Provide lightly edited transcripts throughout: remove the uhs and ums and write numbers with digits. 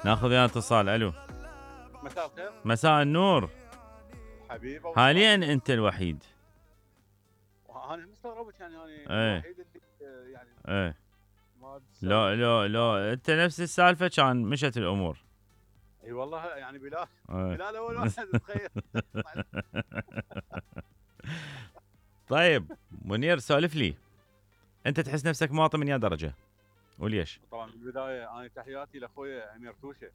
ناخذ وياه اتصال. الو. مساء الخير. مساء النور. حبيبي حاليا انت الوحيد. انا مستغربك يعني الوحيد اللي يعني ما لا انت نفس السالفه كان مشت الامور. اي والله يعني بلال اول واحد تخيل. طيب منير سولف لي، انت تحس نفسك مواطن من يا درجه وليش؟ طبعا بالبدايه انا تحياتي لاخوي امير توشه.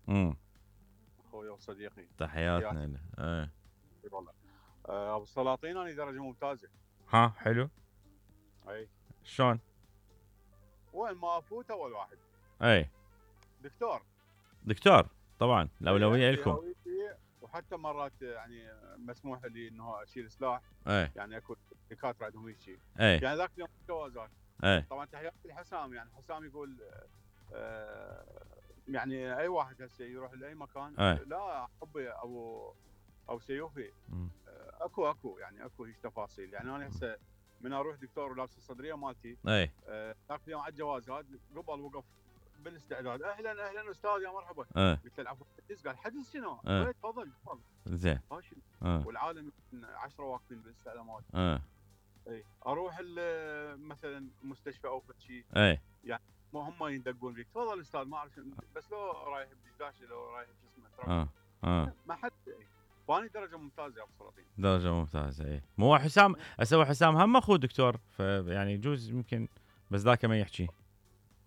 اخوي وصديقي. تحياتنا له. اي والله. ابو السلاطين انا درجه ممتازه. ها حلو. اي شلون؟ وين ما افوت اول واحد. اي دكتور طبعا الاولويه لكم. وحتى مرات يعني مسموح لي انه اشيل سلاح. يعني اكو دكاتره عندهم هيك شيء. يعني ذاك اليوم جوازات. طبعا تحياتي لحسام، يعني حسام يقول يعني اي واحد هسه يروح لاي مكان لا حبي او سيوفي. اكو يعني اكو هيك تفاصيل. يعني انا هسه من اروح دكتور ولابس الصدريه مالتي ذاك اليوم على الجوازات قبل وقف بالاستعداد، اهلا استاذ يا مرحبا. قلت له العفو. قال حدث شنو؟ تفضل زين. والعالم 10 واقفين بالاستعلامات. اي اروح مثلا مستشفى او شيء. يعني ما هم يندقون فيك تفضل استاذ ما اعرف بس لو رايح بدشداشه لو رايح شو اسمه ما حد. فاني درجه ممتازه يا ابو سلاطين. درجه ممتازه. اي مو حسام هسه حسام هم اخوه دكتور، فيعني يجوز يمكن بس ذاك ما يحكي.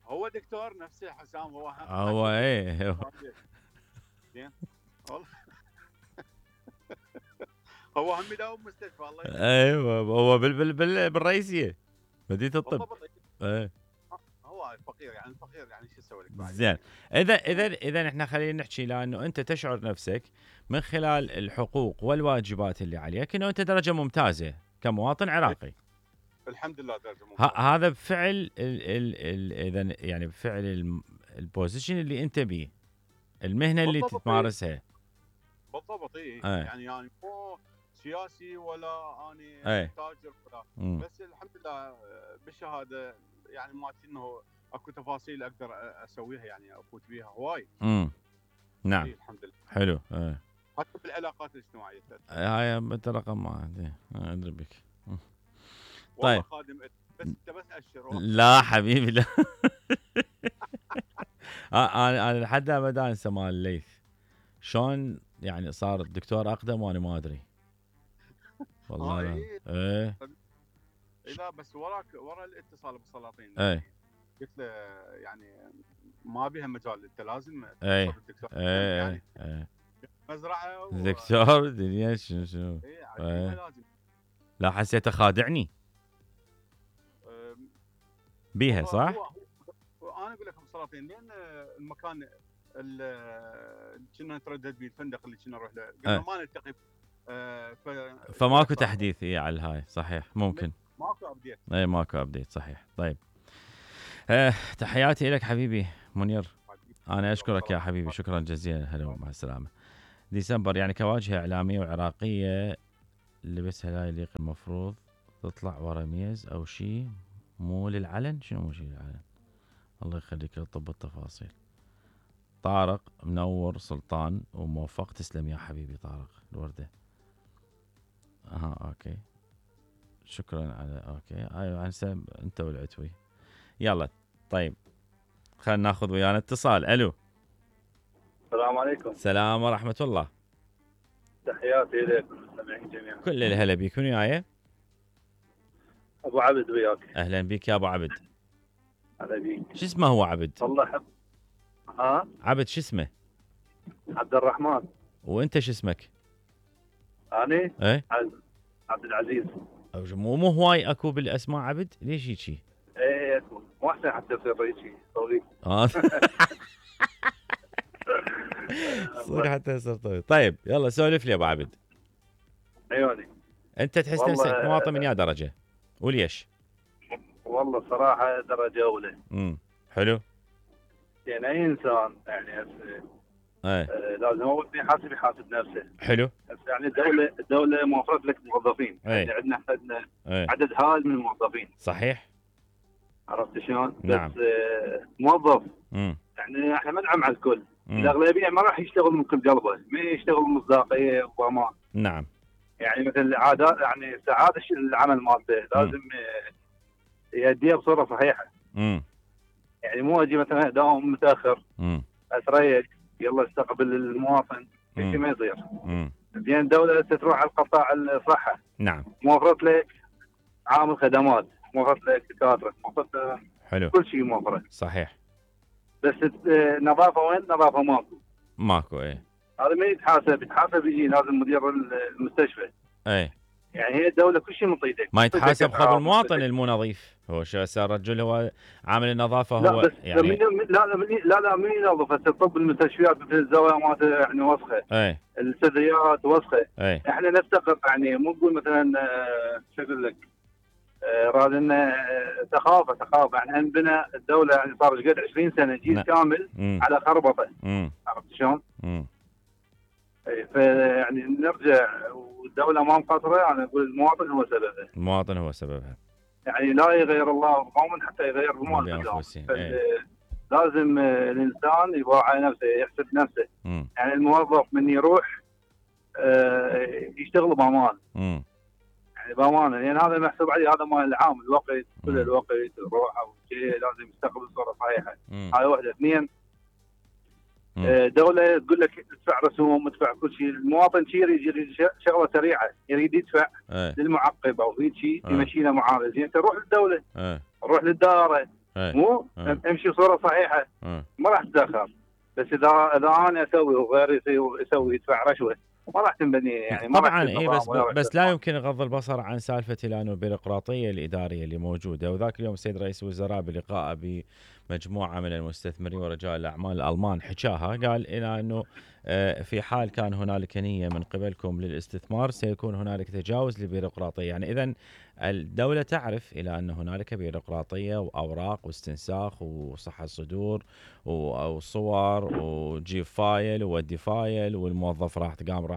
هو دكتور نفسه حسام هو ايه زين والله. هو هم يداوم مستشفى الله يسلمك. ايوه هو بالرئيسيه مدينه الطب. هو الفقير يعني شو اسوي لك بعد. زين. اذا احنا خلينا نحكي لانه انت تشعر نفسك من خلال الحقوق والواجبات اللي عليك انه انت درجه ممتازه كمواطن عراقي. الحمد لله درجه ممتازه. هذا بفعل اذا يعني بفعل البوزيشن اللي انت بيه، المهنه اللي تمارسها. بالضبط. يعني مو سياسي ولا اني تاجر ولا بس الحمد لله بالشهاده يعني مالتي انه اكو تفاصيل اقدر اسويها يعني افوت بيها هواي. نعم الحمد لله. حلو. حتى بالعلاقات الاجتماعيه. هاي انت رقم ما عندي ادري بك. طيب خادم بس انت بس اشر. لا حبيبي لا. انا لحد ابد انسى مال الليث شلون يعني صار الدكتور اقدم وانا ما ادري والله. لا بس ورا الاتصال ابو سلاطين. قلت له يعني ما بيها مجال انت لازم توصل الدكتور. يعني مزرعه دكتور دنيا شنو. لازم. لا حسيته خادعني بيها صح؟ انا اقول لك ابو سلاطين لان المكان اللي كنا نتردد به الفندق اللي كنا نروح له قلنا ما نلتقي. فماكو تحديث على الهاي صحيح ممكن. ماكو ابديت. ماكو ابديت صحيح. طيب تحياتي لك حبيبي منير. انا اشكرك يا حبيبي شكرا جزيلا. هلا مع السلامه. ديسمبر يعني كواجهه اعلاميه وعراقيه لبسها لا يليق المفروض تطلع ورا ميز او شيء مو للعلن. شنو مو شيء للعلن؟ الله يخليك طب التفاصيل. طارق منور سلطان وموفق. تسلم يا حبيبي طارق الورده. اوكي شكرا على اوكي. ايوه انت والعتوي. يلا طيب خلينا ناخذ ويانا اتصال. الو. السلام عليكم. السلام ورحمه الله. تحياتي لكم المستمعين جميعا. كل الهلا بيك. من وياي؟ ابو عبد وياك. اهلا بك يا ابو عبد. هلا بيك. شو اسمه هو عبد؟ والله حب. عبد شو اسمه؟ عبد الرحمن. وانت شو اسمك؟ اني عبد العزيز. مو هواي اكو بالاسماء عبد. ليش هيجي؟ ايه اكو مو احسن حتى يصير رئيسي طويل. صدق حتى يصير طويل. طيب يلا سولف لي ابو عبد. عيوني. انت تحس نفسك مواطن من يا درجه وليش؟ والله صراحه درجه اولى. حلو. يعني اي انسان يعني لازم اول شيء يحاسب نفسه. حلو. يعني الدوله موفرت لك موظفين. يعني عندنا عدد هائل من الموظفين. صحيح. عرفت شلون؟ نعم. بس موظف يعني احنا ما ندعم على الكل. الاغلبيه ما راح يشتغل من كل قلبه، ما يشتغل مصداقيه وضمان. نعم. يعني مثل عادات، يعني ساعات العمل مالته لازم يأديها بصوره صحيحه. يعني مو اجي مثلا اداوم متاخر اتريق يلا استقبل المواطن، شيء ما يصير. زين الدوله تروح على القطاع الصحه. نعم. موفرت لك عامل خدمات، موفرت لك دكاتره، موفرت حلو كل شيء موفره. صحيح. بس نظافه وين؟ نظافه ماكو. ايه هذا ما يتحاسب يجي لازم مدير المستشفى. ايه يعني هي الدوله كل شيء من طيدك، ما يتحاسب خب المواطن المو نظيف. هو شو صار الرجل هو عامل النظافه لا هو بس يعني لا من ينظف. هسه طب المستشفيات مثل الزوايا مالته يعني وسخه. ايه الصدريات وسخه. ايه احنا نفتقر يعني مو نقول مثلا شو اقول لك راد لنا ثقافه. يعني عندنا الدوله يعني صار ايش قد 20 سنه جيل كامل على خربطه. عرفت شلون؟ فيعني نرجع والدوله ما مقصره. انا اقول المواطن هو سببها. المواطن هو سببها. يعني لا يغير الله قوما حتى يغير المواطن. لازم الانسان يراعي نفسه، يحسب نفسه. يعني الموظف من يروح يشتغل بامان. يعني بامانه، لان هذا محسوب عليه، هذا مال العام، الوقت كل الوقت الروحه وشيء لازم يستقبل بصوره صحيحه. هاي واحده. اثنين، دوله تقول لك ادفع رسوم، ادفع كل شيء. المواطن يريد شغله سريعه، يريد يدفع للمعقب او في شيء يمشي له معامله. زين تروح للدوله، روح للدائره، مو امشي بصوره صحيحه، ما راح تتاخر. بس اذا انا اسوي وغيري يسوي يدفع رشوه ما راح تنبني. يعني ما طبعا اي بس لا يمكن غض البصر عن سالفه الان البيروقراطيه الاداريه اللي موجوده. وذاك اليوم السيد رئيس الوزراء بلقائه بمجموعه من المستثمرين ورجال الاعمال الالمان حكاها، قال الى انه في حال كان هنالك نيه من قبلكم للاستثمار سيكون هنالك تجاوز للبيروقراطيه. يعني اذا الدوله تعرف الى ان هنالك بيروقراطيه واوراق واستنساخ وصحه صدور وصور وجيب فايل وودي فايل، والموظف راح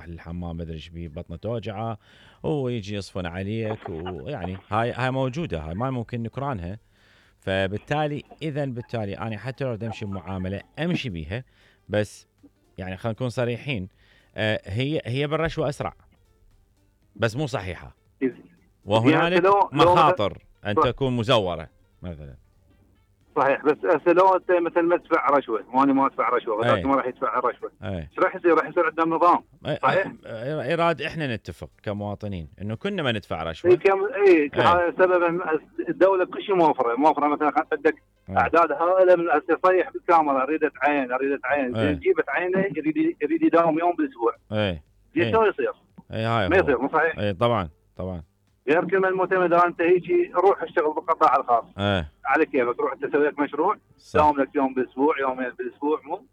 للحمام ما ادري ايش بيه بطنه توجعه ويجي يصفن عليك، ويعني هاي موجوده، هاي ما ممكن نكرانها. فبالتالي بالتالي انا حتى لو امشي بمعامله امشي بيها، بس يعني خلينا نكون صريحين، هي بالرشوه اسرع بس مو صحيحه، وهنالك مخاطر ان تكون مزوره مثلا. صحيح. بس هسه لو انت مثلا ما تدفع رشوه، وانا ما ادفع رشوه، غيرك ما راح يدفع الرشوه، ايش راح يصير؟ راح يصير عندنا نظام. صحيح. ايراد احنا نتفق كمواطنين انه كنا ما ندفع رشوه. هذا سبب الدوله كل شيء موفره مثلا عندك اعداد هائله من تصيح بالكاميرا، اريد عين جيبت عينه يريد يداوم يوم بالاسبوع. شو يصير؟ ما يصير. مو صحيح. اي طبعا. غير كلمه المعتمده، انت هيجي روح اشتغل بالقطاع الخاص. على كيفك، تروح تسوي لك مشروع داوم لك يوم بالاسبوع، يومين بالاسبوع، مو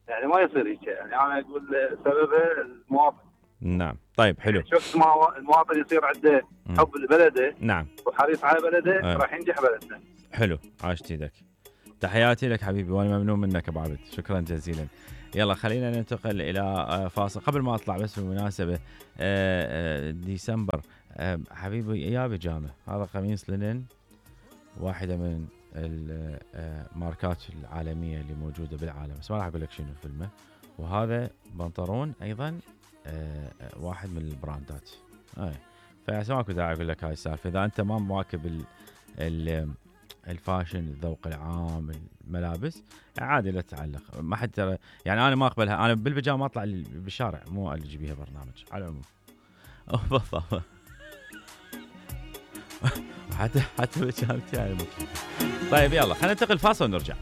يعني ما يصير هيك. يعني انا اقول سببه المواطن. نعم. طيب حلو. شفت ما المواطن يصير عنده حب لبلده، نعم، وحريص على بلده، راح ينجح بلدنا. حلو، عاشت ايدك. تحياتي لك حبيبي، وانا ممنون منك ابو عبد، شكرا جزيلا. يلا خلينا ننتقل الى فاصل. قبل ما اطلع بس بالمناسبه ديسمبر حبيبي يا بيجامه، هذا قميص لينن، واحده من الماركات العالميه اللي موجوده بالعالم، بس ما راح اقول لك شنو الفيلم. وهذا بنطلون ايضا واحد من البراندات. فما اكو داعي اقول لك هاي السالفه. اذا انت ما مواكب الفاشن، الذوق العام، الملابس، عادي لا تتعلق. ما حد يعني انا ما اقبلها. انا بالبيجامه اطلع بالشارع، مو اللي بيها برنامج على العموم. بالضبط. حتى بيجامتي يعني. طيب يلا خلينا ننتقل فاصل ونرجع.